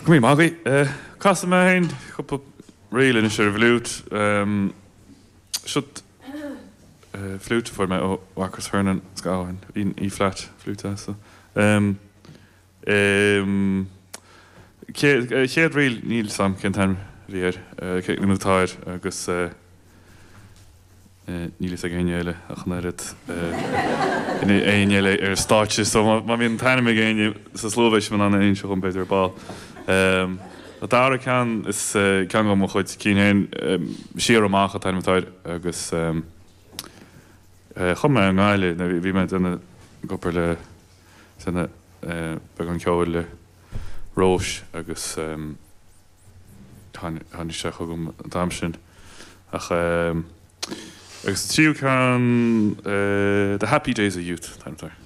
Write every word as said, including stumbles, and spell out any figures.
Go raibh maith agaibh. Casfaidh mé féin cúpla ríl anois ar an bhfliúit. Seo fliúit a fuair mé ó Mharcus Hernon is gabhann E flat fliúit as. Chéad ríl, níl 's a'm cén t-ainm a bhí air, nó atá air, agus níl fhios ag éinne eile ach an oiread, éinne eile ar an stáitse, so má bhíonn an t-ainm ag éinne sa slua beidh sibh in ann a inse dhom b'fhéidir ar ball. An dara ceann is ceann de mo chuid cinn féin, Siar Amach an t-ainm atá air, agus chum mé i nGaillimh, nuair bhí mé ag déanamh ag obair le, déanamh beagán ceoil le Róis agus tháinig sé chugam an t-am sin. Ach agus an tríú ceann, The Happy Days of Youth an t-ainm atá air.